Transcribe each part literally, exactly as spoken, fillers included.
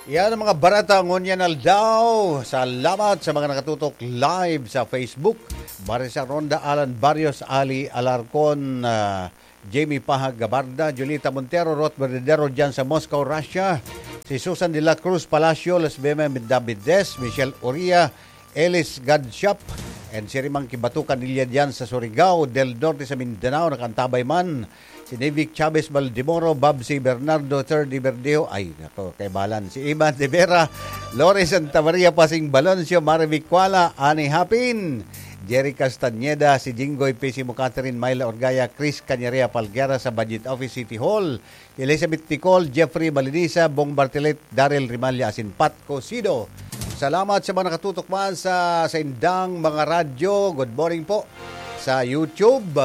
Yan ang mga bareta ngunyan aldaw. Salamat sa mga nakatutok live sa Facebook. Marisa Ronda, Alan Barrios, Ali Alarcon, ah, Jamie Pahag Gabarda, Julita Montero, Ruth Verdadero dyan sa Moscow, Russia. Si Susan de la Cruz Palacio, Lesbeme Davides, Michelle Uria, Elis Gadshop, and si Rimang Kibatukan Ilya dyan sa Surigao del Norte sa Mindanao, nakaantabay man. Si Nivic Chavez Baldemoro, Babsi Bernardo, Third Iberdeho, ay, nako, kaibalan. Si Ivan de Vera, Lores Santa Maria, Pasing Baloncio, Marivic Kuala, Ani Hapin, Jerry Castañeda, si Jinggoy Pisimo, Catherine Myla Orgaya, Chris Cañeria Palguera sa Budget Office City Hall, Elizabeth Ticol, Jeffrey Balinisa, Bong Bartilet, Daryl Rimalla, asin Pat Cosido. Salamat sa mga nakatutok man sa, sa indang mga radyo. Good morning po sa YouTube.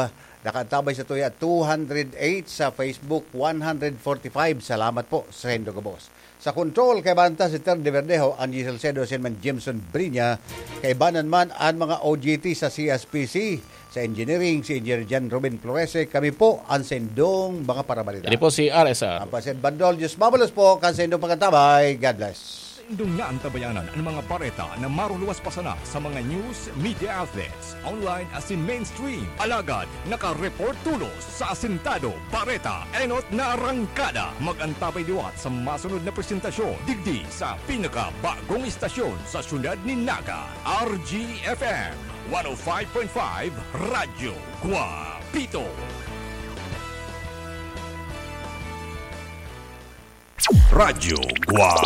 Nakaantabay sa tuya two hundred eight, sa Facebook one hundred forty-five. Salamat po sa indo gabos. Sa control, kaibanan ta si Ter de Verdejo, Angie Salcedo, asin man Jameson Brinya. Kaibanan man an mga O G T sa C S P C, sa engineering, si Engineer John Ruben Florese. Kami po an sendong mga parabalita. Ini po si R S R. Ang President Bandol, Diyos mabalos po kan sendong pagkatabay. God bless. Indong niya ang tabayanan ang mga bareta na maruluwas pa sana sa mga news media outlets, online asin mainstream. Alagad, naka-report tulos sa Asintado Bareta, enot na arangkada. Mag-antabay liwat sa masunod na presentasyon digdi sa pinakabagong istasyon sa siyudad ni Naga, R G F M one oh five point five Radyo Guapito. Radyo Guapito.